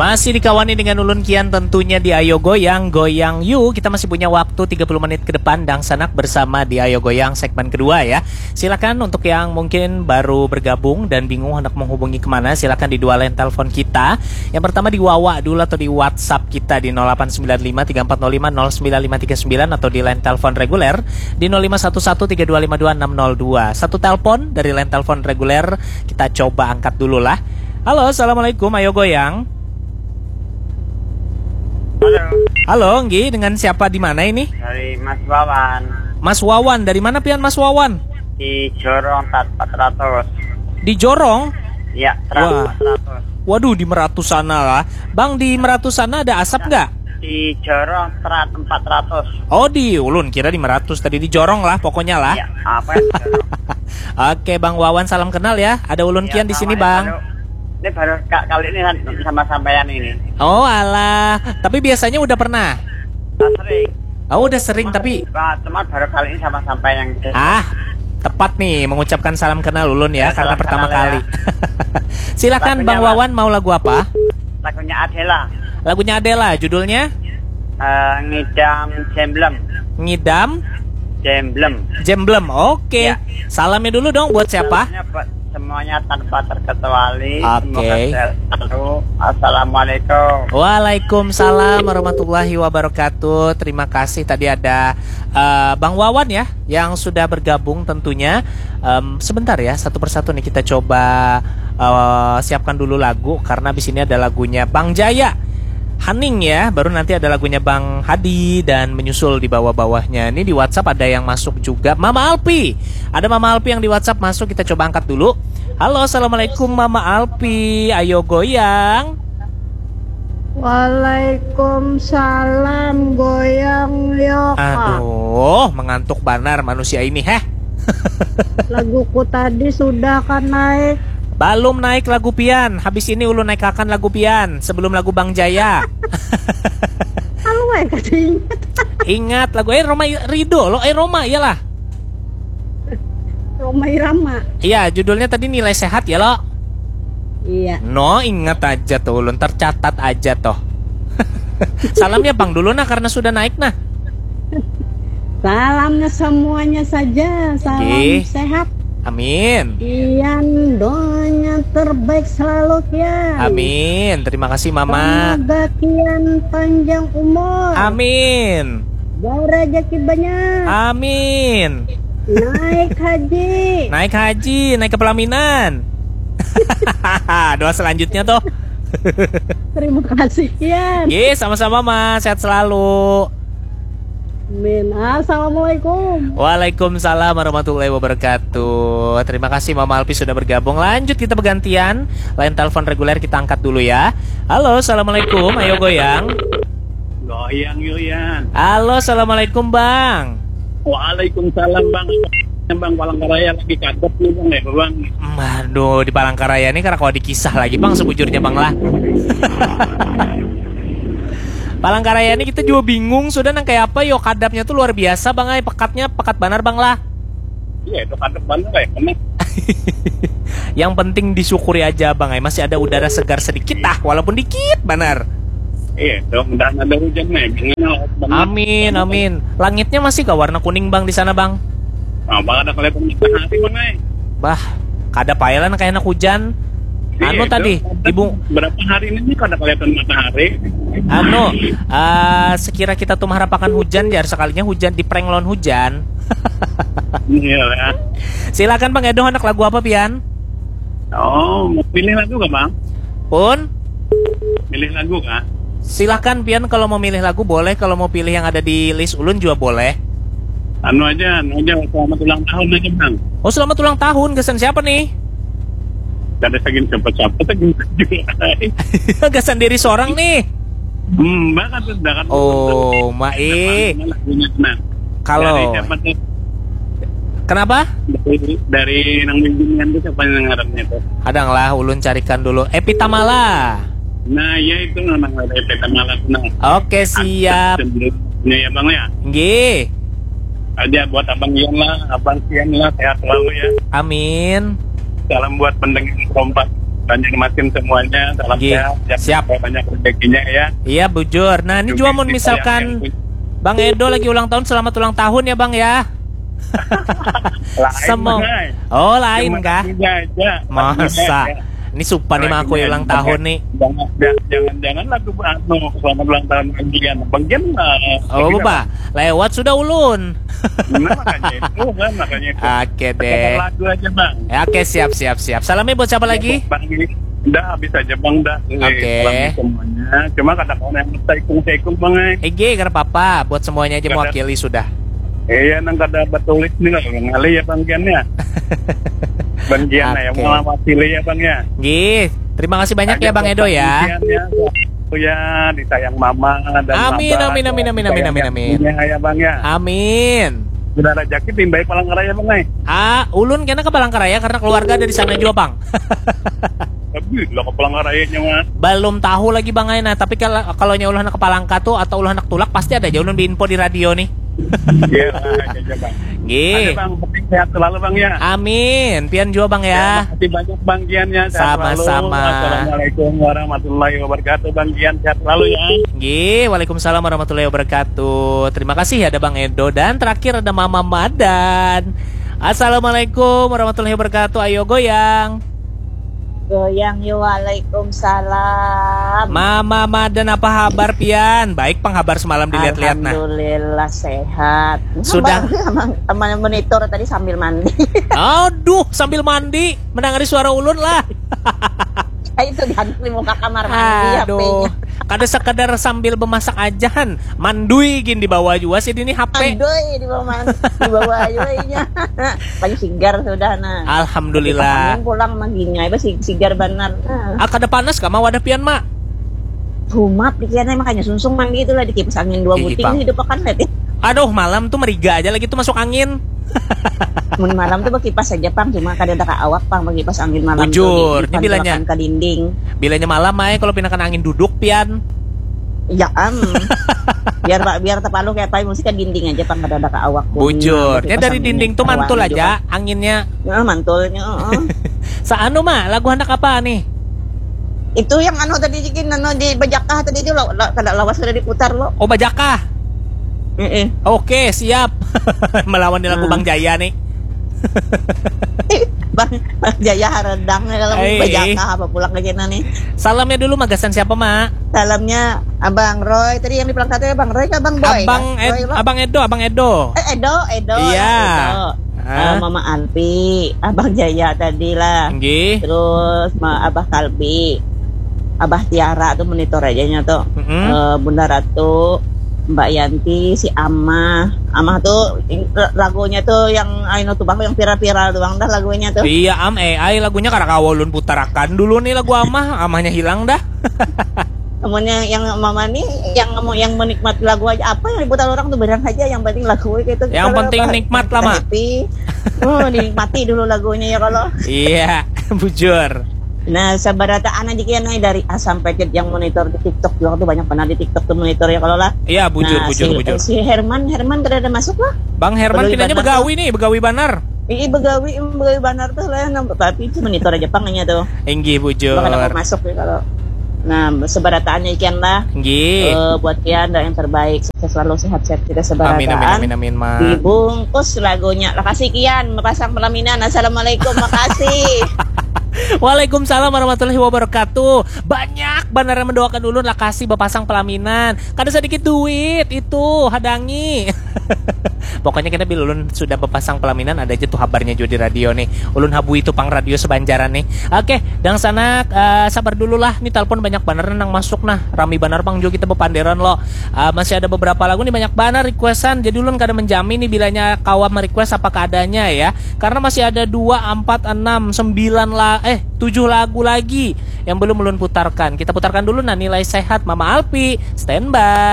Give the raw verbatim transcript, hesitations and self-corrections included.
Masih dikawani dengan ulun Kian tentunya di Ayo Goyang, Goyang You. Kita masih punya waktu tiga puluh menit ke depan, dangsanak bersama di Ayo Goyang segmen kedua ya. Silakan untuk yang mungkin baru bergabung dan bingung hendak menghubungi kemana, silakan di dua line telepon kita. Yang pertama di Wawa dulu atau di WhatsApp kita di nol delapan sembilan lima tiga empat nol lima nol sembilan lima tiga sembilan atau di line telepon reguler di nol lima satu satu tiga dua lima dua enam nol dua. Satu telepon dari line telepon reguler, kita coba angkat dulu lah. Halo, assalamualaikum, Ayo Goyang. Halo, Halo, Nggi, dengan siapa di mana ini? Dari Mas Wawan. Mas Wawan, dari mana pian Mas Wawan? Di Jorong Tat empat ratus. Di Jorong? Ya, Terat Wah. empat ratus. Waduh, di Meratus sana lah. Bang, di Meratus sana ada asap nggak? Di Jorong Terat empat ratus. Oh, di ulun kira di Meratus tadi, di Jorong lah pokoknya lah. Ya, apa ya? Oke, Bang Wawan, salam kenal ya. Ada ulun ya, Kian di sini, Bang. Halo. Ini baru kali ini kan sama sampean ini. Oh, alah. Tapi biasanya udah pernah? Nah, sering. Oh, udah sering cuma, tapi cuma baru kali ini sama sampean yang Ah, tepat nih mengucapkan salam kenal ulun ya, ya karena pertama ya. kali. Silakan Bang ya, Wawan, mau lagu apa? Lagunya Adela. Lagunya Adela, judulnya? Uh, ngidam Jemblem. Ngidam? Jemblem. Jemblem. Oke. Okay. Ya. Salamnya dulu dong buat siapa? Salamnya buat semuanya tanpa terkecuali. Oke. Okay. Semoga sehat selalu. Assalamualaikum. Waalaikumsalam warahmatullahi wabarakatuh. Terima kasih, tadi ada uh, Bang Wawan ya yang sudah bergabung tentunya. Um, sebentar ya, satu persatu nih kita coba uh, siapkan dulu lagu karena di sini ada lagunya Bang Jaya. Haning ya, baru nanti ada lagunya Bang Hadi dan menyusul di bawah-bawahnya. Ini di WhatsApp ada yang masuk juga. Mama Alpi. Ada Mama Alpi yang di WhatsApp masuk, kita coba angkat dulu. Halo, assalamualaikum Mama Alpi. Ayo goyang. Waalaikumsalam, goyang yo. Aduh, mengantuk banar manusia ini, heh. Laguku tadi sudah kan naik. Balum naik lagu pian. Habis ini ulun naikakan lagu pian sebelum lagu Bang Jaya. Halo, eh, kasih ingat. Ingat lagu eh Roma Rido lo, eh Roma iyalah. Roma Irama. Iya, judulnya tadi Nilai Sehat ya lo. Iya. No, ingat aja tuh ulun, tercatat aja toh. Salamnya Bang dulu nah karena sudah naik nah. Salamnya semuanya saja. Salam Gih. Sehat. Amin. Kian doanya terbaik selalu Kian. Amin. Terima kasih Mama. Semoga Kian panjang umur. Amin. Barajaki banyak. Amin. Naik haji. Naik haji, naik ke pelaminan. Doa selanjutnya toh. Terima kasih Kian. Ye, sama-sama Mas. Sehat selalu. Amin. Assalamualaikum. Waalaikumsalam warahmatullahi wabarakatuh. Terima kasih Mama Alpi sudah bergabung. Lanjut kita bergantian. Lain telepon reguler kita angkat dulu ya. Halo, assalamualaikum. Ayo goyang. Goyang Yuyan. Halo, assalamualaikum Bang. Waalaikumsalam Bang. Bang Palangkaraya lagi kaget nih Bang ya Bang. Aduh, di Palangkaraya ini karena kalau dikisah lagi Bang sebujurnya Bang lah. Palangkaraya ini kita juga bingung sudah nang kayak apa yo, kadapnya tuh luar biasa Bang ay, pekatnya pekat banar Bang lah. Iya, itu kadap banar ya, kena. Yang penting disyukuri aja Bang ay, masih ada udara segar sedikit ah, walaupun dikit banar. Iya, dong, dan ada hujan nih. Gimana? Amin, amin. Langitnya masih gak warna kuning Bang di sana Bang? Nah, Bang ada kelihatan matahari Bang ay. Bah, kada payah lah kayak anak hujan. Iya, anu tadi, ibu berapa hari ini kada kelihatan matahari? Anu, uh, sekira kita tuh mengharapkan hujan jar sekalinya hujan di prank lawan hujan. Iya. Silakan Bang Edo, anak lagu apa pian? Oh, mau pilih lagu gak Bang? Pun? Pilih lagu kah? Silahkan pian kalau mau milih lagu boleh, kalau mau pilih yang ada di list ulun juga boleh. Anu aja, anu aja, selamat ulang tahun aja bang. Oh selamat ulang tahun, gasan siapa nih? Gak ada sagin siapa-siapa, sagin juga. Gasan diri seorang nih. Hmm, banget tuh, banget. Oh, mae. Kalau dari siapa nih? Kenapa? Dari, dari nang bimbingan tuh siapa yang ngarannya tuh? Kadang lah, ulun carikan dulu. Epi Tamala. Nah, ya itu memang ada Epi Tamala. Nah. Oke, siap. Ya, ya bang ya. Nggih. Aja buat abang Ian lah, abang Ian lah, sehat selalu ya. Amin. Salam buat pendengar kompak. Banjarmasin semuanya, salam Nggih, sehat, jangan siap. sampai banyak rezekinya ya. Iya, bujur. Nah, ini Juga juga mau kita misalkan yang punya Bang Edo lagi ulang tahun, selamat ulang tahun ya, Bang, ya. Lain, Semua. Bang, ai. Oh, lain Cuma kah? lagunya aja. Masa? Lagunya aja. Ini supan nih, Bang, aku Lagunya ulang aja. Tahun nih. Jangan, jangan, jangan lagu anu, selamat ulang tahun Bang Gian. Bang Gian, eh, Oh, lagi apa? Lewat sudah ulun. Nah, makanya itu kan, makanya itu. Oke Sekedar deh. Lagu aja, Bang. Ya, oke, siap, siap, siap. Salamnya buat siapa lagi? Bang, dah habis aja, Bang, dah. Eh, Oke. Salam semuanya. Cuma kadang orang yang saikung-saikung, Bang, eh. Ege, kada apa-apa. Buat semuanya aja Kada. Mewakili sudah. Iya, nang kada batulis nih lah, ngalih ya, Bang Gian ya. Bang Gian ya, Oke. mewakili ya, Bang ya. Nggih, terima kasih banyak ya, Bang Edo ya. Bang Gian ya. Ya, disayang mama dan Amin, abah, amin, amin, amin, amin, disayang amin, amin. Punya ya, Bang ya. Amin. Bila rezeki timbai Palangkaraya, Bang, eh. Ah, ulun kena ke Palangkaraya karena keluarga ada di sana juga, Bang. Tapi lo ke Palangkarayanya mah. Belum tahu lagi, Bang, ai. Nah, tapi kalau kalau nya ulah anak ke Palangka tuh atau ulah anak tulak, pasti ada aja ulun diinfo di radio nih. Iya, lah, aja, aja, Bang. Nggih. Ada, Bang, penting sehat selalu, Bang ya. Amin. Pian juga, Bang, Ya, ya. makasih banyak, Bang Gian ya. Sehat Sama-sama. Selalu. Assalamualaikum warahmatullahi wabarakatuh, Bang Gian, sehat selalu ya. Nggih, waalaikumsalam warahmatullahi wabarakatuh. Terima kasih, ada Bang Edo dan terakhir ada Mama Madan. Assalamualaikum warahmatullahi wabarakatuh. Ayo goyang. Goyang yo, waalaikumsalam. Mama Madan, apa habar pian? Baik pang habar semalam dilihat-lihat nah. Alhamdulillah sehat. Sudah. Emang, emang, emang monitor tadi sambil mandi. Aduh, sambil mandi, mendengari suara ulun lah. Itu di muka kamar mandi Aduh, H P-nya. Kada sekadar sambil bemasak aja han, mandui gin dibawa jua sih ini H P. Aduh, di bawah man-, di bawah aja inya. Paling sigar sudah nah. Alhamdulillah. Angin pulang maginya, iba si-, sigar banar. Nah. Ah, kada panas kah, Ma, wadah pian, Ma? Humat pikirannya, makanya sungsung mandi itulah di kipas angin dua Ih, buting Bang. Hidup akan lihat ya. Aduh, malam tuh meriga aja lagi tuh masuk angin. Mun malam tuh bekipas aja pang, cuma kada ada ka awak pang bekipas angin malam Bujur, tuh. ini bilanya. Ke dinding. Bilanya malam, Mai, kalau pinakan angin duduk pian. Ya am. Biar pak biar tepalu kayak apa mesti ke dinding aja pang kada ada ka awak. Bujur. Kipas Ya dari angin dinding ya, tuh mantul awak aja juga. Anginnya. Ya, mantulnya. Heeh. Saanu, Ma, lagu handak apa nih? Itu yang anu tadi jikin anu di Bajakah tadi itu lo, lo, kada lawas kada diputar lo. Oh, Bajakah. Heeh. Oke, siap. Melawan lagu Hmm. Bang Jaya nih. Bang, Bang Jaya haredang ya kalau Eh, Bajakah apa pulang ke sana nih. Salamnya dulu magasan siapa, Ma? Salamnya Abang Roy tadi yang di Palangkaraya, Abang Roy ke Abang Boy. Abang Kan? Ed, Roy lo. Abang Edo, Abang Edo. Eh, Edo, Edo. Iya. Edo. Ah. Eh, Mama Alpi, Abang Jaya tadi lah. Nggih. Terus Ma- Abah Kalbi, Abah Tiara tuh monitor aja nya tuh. Mm-mm. Eh, Bunda Ratu, Mbak Yanti, si Amah. Amah tuh ing- lagunya tuh yang anu tuh bang yang viral-viral doang dah lagunya tuh. Iya, am, eh, ai lagunya kada kawa ulun putarakan dulu nih lagu Amah, Amahnya hilang dah. Namun yang, yang mama nih yang mau yang menikmati lagu aja apa yang diputar orang tuh beneran aja yang penting lagu gitu. Yang Kalau penting apa, nikmat kita lah, Ma. Happy. Oh, dinikmati dulu lagunya ya kalau. Iya, bujur. Nah, sabarataan aja kian nih dari A sampai Z yang monitor di TikTok juga tuh banyak benar di TikTok tuh monitor ya kalau lah. Iya, bujur, Nah, bujur, si, bujur. Si Herman, Herman kada ada masuk lah. Bang Herman Begawi pinanya banar begawi nih, begawi banar. Ii begawi, begawi banar tuh lah, nah, tapi itu monitor aja pangnya tuh. Inggih, bujur. Bakal dapat masuk ya kalau. Nah, sebarataannya ikian lah. Inggih. Eh, buat kian doa yang terbaik, sukses selalu, sehat-sehat kita sebarataan. Amin, amin, amin, amin, Ma. Dibungkus lagunya. Makasih kian, mepasang pelaminan. Assalamualaikum, makasih. Waalaikumsalam warahmatullahi wabarakatuh. Banyak banar yang mendoakan ulun lakasi bapasang pelaminan. Kada sedikit duit itu, hadangi. Pokoknya kita bila ulun sudah bapasang pelaminan ada aja tuh habarnya juga di radio nih. Ulun habui itu pang radio sebanjaran nih. Oke, dangsanak, eh, sabar dulu lah. Nih telepon banyak banar nang masuk nah. Rami banar pang juga kita bepanderan lo. Eh, masih ada beberapa lagu nih banyak banar requestan. Jadi ulun kada menjamin nih bilanya kawa merequest apa keadaannya ya. Karena masih ada dua, empat, enam, sembilan la eh tujuh lagu lagi yang belum ulun putarkan. Kita putarkan dulu nah Nilai Sehat Mama Alpi. Standby.